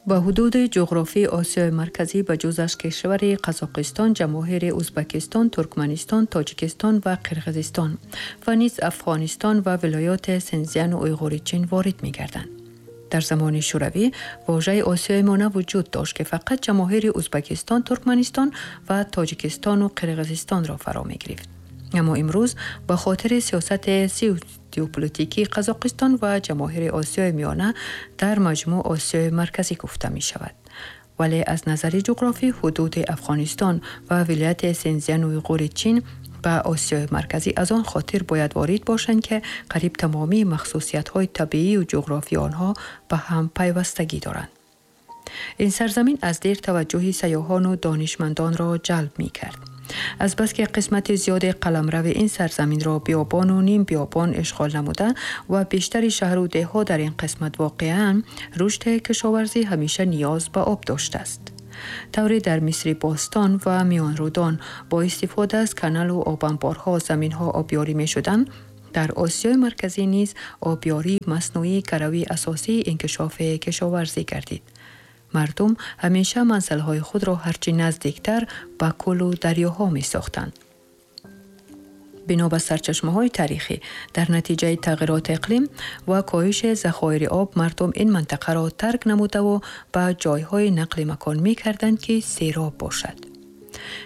Ба ҳудуди ҷуғрофии Осиёи Марказӣ ба ҷуз аз кишвари Қазоқистон, Ҷамоҳири Ӯзбекистон, Туркманистон, Тоҷикистон ва Қирғизистон ва низ Афғонистон ва вилояти Синзяну Уйғури Чин ворид мегарданд. Дар замони Шӯравӣ вожаи Осиёи Миёна вуҷуд дошт, ки фақат Ҷамоҳири Ӯзбекистон, Туркманистон ва Тоҷикистону Қирғизистонро фаро мегирифт. Аммо имрӯз ба хотири сиёсати геополитикии Қазоқистон ва Ҷамоҳири Осиёи Миёна дар маҷмӯъ Осиёи Марказӣ гуфта мешавад. Вале аз назари ҷуғрофӣ ҳудуди Афғонистон ва вилояти Синзяну Уйғури Чин ба Осиёи Марказӣ аз он хотир бояд ворид бошанд, ки қариб тамомии махсусиятҳои табиию ҷуғрофии онҳо ба ҳам пайвастагӣ доранд. Ин сарзамин аз дер таваҷҷӯҳи сайёҳону донишмандонро ҷалб мекард. Азбаски қисмати зиёди қаламрави ин сарзаминро биёбону нимбиёбон ишғол намуда ва бештари шаҳру деҳҳо дар ин қисмат воқеаанд, рушди кишоварзӣ ҳамеша ниёз ба об доштааст. Тавре дар Мисри бостон ва Миёнрудон бо истифода аз каналу обанборҳо заминҳо обёрӣ мешуданд, дар Осиёи Марказӣ низ обёрии маснуӣ гарави асосии инкишофи кишоварзӣ гардид. Мардум ҳамеша манзилҳои худро ҳарчи наздиктар ба кӯлу дарёҳо месохтанд. Бино ба сарчашмаҳои таърихӣ, дар натиҷаи тағйироти иқлим ва коҳиши захоири об мардум ин минтақаро тарк намудаву ба ҷойҳои нақли макон мекарданд, ки сероб бошад.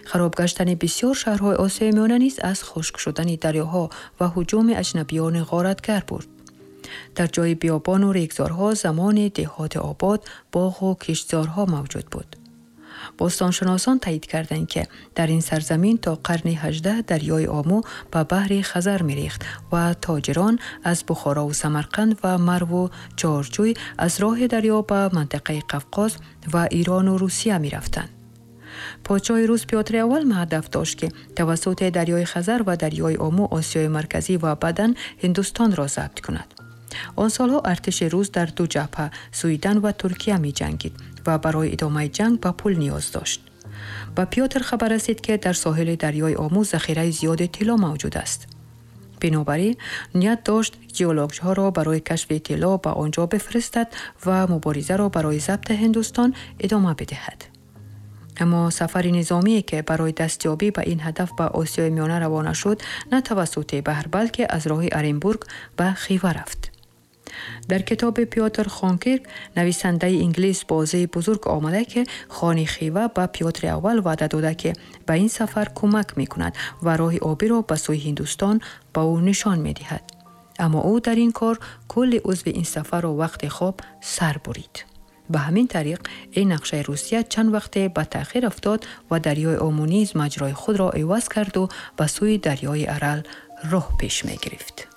Хароб гаштани бисёр шаҳрҳои Осиёи Миёна низ аз хушк шудани дарёҳо ва ҳуҷуми аҷнабиёни ғоратгар буд. Дар ҷои биёбону регзорҳо замони деҳоти обод боғу киштзорҳо мавҷуд буд. Бостоншиносон таъйид карданд, ки дар ин сарзамин то қарни 18 дарёи Омӯ ба баҳри Хазар мерехт ва тоҷирон аз Бухорову Самарқанд ва Марву Чорчӯй аз роҳи дарё ба минтақаи Қавқоз ва Ирону Русия мерафтанд. Подшоҳи рус Пётри Аввал ҳадаф дошт, ки тавассути дарёи Хазар ва дарёи Омӯ Осиёи Марказӣ ва баъдан Ҳиндустонро забт кунад. Он солҳо артиши рус дар ду ҷабҳа, Суидан ва Туркия, меҷангид ва барои идомаи ҷанг ба пул ниёз дошт. Ба Пётр хабар расид, ки дар соҳили дарёи Омӯ захираи зиёди тилло мавҷуд аст. Бинобар ин ният дошт геологҳоро барои кашфи тилло ба он ҷо бифиристад ва муборизаро барои забти Ҳиндустон идома бидиҳад. Аммо сафари низомие, ки барои дастёбӣ ба ин ҳадаф ба Осиёи Миёна равона шуд, на тавассути баҳр, балки аз роҳи Оренбург ба Хива рафт. Дар китоби Пётр Хонкирк, нависандаи инглис, бозии бузург омада, ки хони Хива ба Пётри Аввал ваъда дода, ки ба ин сафар кӯмак мекунад ва роҳи обиро ба сӯи Ҳиндустон ба ӯ нишон медиҳад. Аммо ӯ дар ин кор кулли узви ин сафарро вақти хоб сар бурид. Ба ҳамин тариқ ин нақшаи Русия чанд вақте ба таъхир афтод ва дарёи Омӯ низ маҷрои худро иваз карду ба сӯи дарёи Арал роҳ пеш мегирифт.